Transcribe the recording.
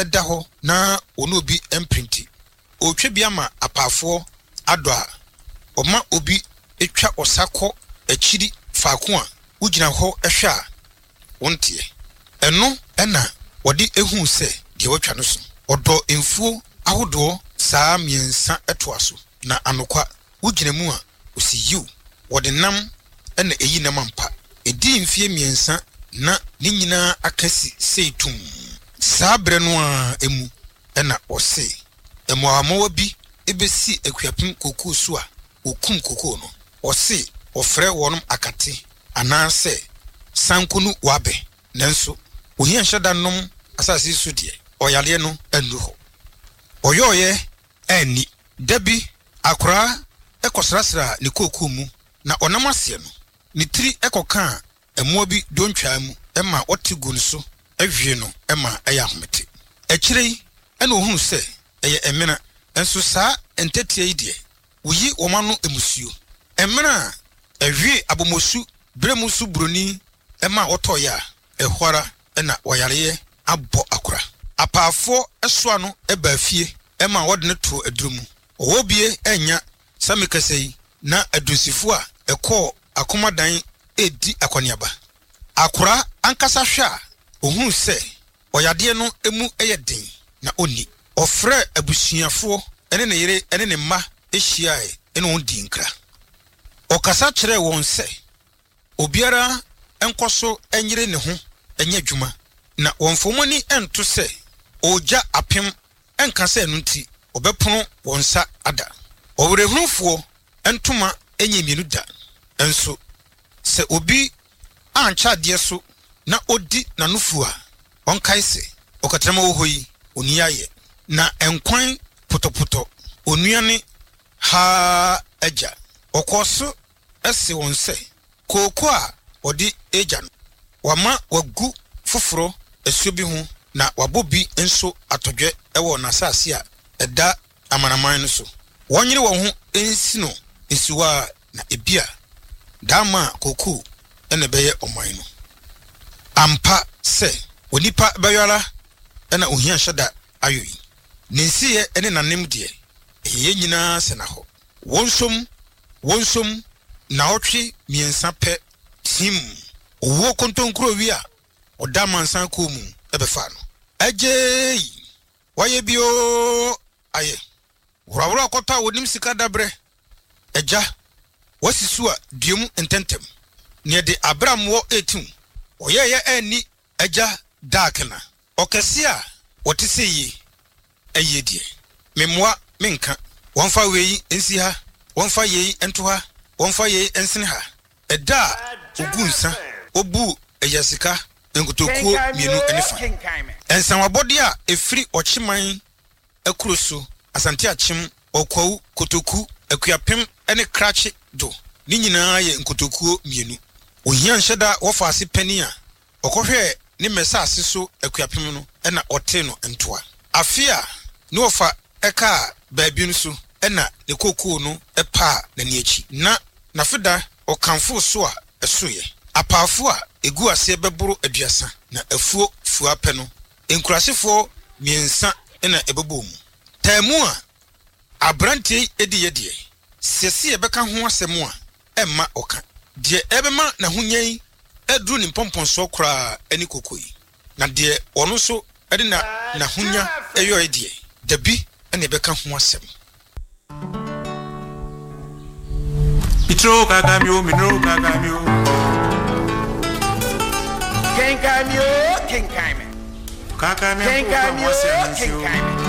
da hɔ na ɔne obi mpere nti, ɔretwa bi ama apaafoɔ adɔ a, ɔma obi twa ɔsa kɔ akyiri faako a wogyina hɔ hwɛ a wonteɛ. Ɛno na wɔde huu sɛ deɛ watwa no so. Ɔdɔ mfuo ahodoɔ saa mmiɛnsa toa so, na anokwa, wogyina mu a, ɔsi yiw, wɔde nam na ɛyi nam ampa. Ɛdii mfeɛ mmiɛnsa na ne nyinaa aka si sei tumm. Saa berɛ no ara mu na ɔse mmoawammoawa bi bɛsi Akuapem kokoo so a wɔkum kokoo no. Ɔse wɔfrɛ wɔnom akate anaasɛ sankonu wabɛ. Nanso ohia nhyɛ da nnom asase yi so deɛ, ɔyareɛ no annuru hɔ. Ɔyɔeɛ anni. Da bi, akoraa kɔsrasraa ne kookoo mu na ɔnam aseɛ no, ne tiri kɔkaa mmoa bi dontwaa mu ma wɔte guu ne so hwee no ma ɛyɛ ahomete. Akyire yi na ɔhunuu sɛ ɛyɛ mmena, nso saa ntɛtea yi deɛ, woyi wɔn ano mmusuo. Mmena a ɛhwee abomosu berɛ mu so buroni ma wɔtɔeɛ a, ɛhɔ ara na wɔyareɛ abɔ akora. Apaafoɔ soa no baa fie ma wɔde no too aduro mu. Ɔwɔ bie annya sɛ mekasa yi na adunsifo a ɛkɔɔ akomadan redi akɔneaba. Akora ankasa hwɛ a, ɔhunu sɛ ɔyadeɛ no mu yɛ den na ɔnni. Ɔfrɛɛ abusuafoɔ ne ne yere ne ne mma hyiaeɛ ne wɔn dii nkra. Ɔkasa kyerɛɛ wɔn sɛ obiara nkɔ so nyere ne ho nyɛ adwuma na wɔmfa wɔn ani nto sɛ ɔregya apem nka sɛ ɛno nti wɔbɛpono wɔn nsa ada. Ɔwerɛhunufoɔ ntoma nyɛ mmienu da, nso sɛ obi ankyɛ adeɛ so na ɔdi n'anofuo a, ɔnkae sɛ, Ɔkatrama wɔ hɔ yi, ɔnni ayɛ, na nkwan potɔpotɔ, onua ne haa agya. Ɔkɔɔ so see wɔn sɛ, Kooko a wɔde regya no, wɔama wɔagu foforo asuo bi ho na wɔabɔ bi nso atɔdwɛ wɔ n'asase a ɛda amanaman no so. Wɔnyere wɔn ho nsi no nsiwa na ebia daama a kooko na ɛbɛyɛ ɔman no. Ampa sɛ, onipa bɛyɔ ara na ohia nhyɛ da ayɔ yi. Ne nsiyɛ ne n'anem deɛ, ɛyɛ yɛn nyinaa sɛnnahɔ. Wɔnsom Wɔnsom nnawɔtwe mmiɛnsa pɛ team owuo kontonkurowi a ɔda amansan kuo mu bɛfaa no. Agyeei! Wayɛ bi oo ayɛ. Worɔworɔ kɔtɔ a wɔnim sika dabrɛ. Agya, woasi so a dua mu ntɛntɛm. Neɛ de abrammoɔ retew. Ɔyɛeɛ anni Agya Daakena. Ɔkɛseɛ a ɔte sɛ yie ayie deɛ, memmoa menka. Wɔmfa wei nsi ha, wɔmfa yei nto ha, wɔmfa yei nsene ha. Ɛda a ɔguu nsa, ɔbuu agyasika nkotokuo mmienu ne fa. Nsawabɔdeɛ a ɛfiri Ɔkyeman akuro so, Asante Akyem, Ɔkwawu, Kotoku, Akuapem ne Krakye do, ne nyinaa yɛ nkotokuo mmienu. Ohia nhyɛ da wɔfa ase panin a Ɔkɔhwɛɛ ne mmɛsase so akuapem no na ɔtee no ntoa. Afe a ne wɔfa kaa baabi no so na ne kookoo no paa n'ani akyi, na n'afeda ɔkamfoo so a ɛsoeɛ. Apaafo a ɛgu aseɛ bɛboro aduasa na afuo fua pɛ no, nkurasefoɔ mmiɛnsa na ɛbɛbɔɔ mu. Taamu a aberanteɛ yi diiɛ deɛ, sɛ se yɛbɛka ho asɛm a, ɛmma ɔka. Deɛ ɛbɛma n'ahonya yi aduru ne mpɔmpɔnsoɔ koraa ne koko yi. Na deɛ ɔno nso de na n'ahonya yɔeɛ deɛ, dabi na yɛbɛka ho asɛm. Mitro kaka mi o, minro kaka mi o. Kenkan mi o, kenkan me. Kaka mi Kenkan mi o, kenkan me.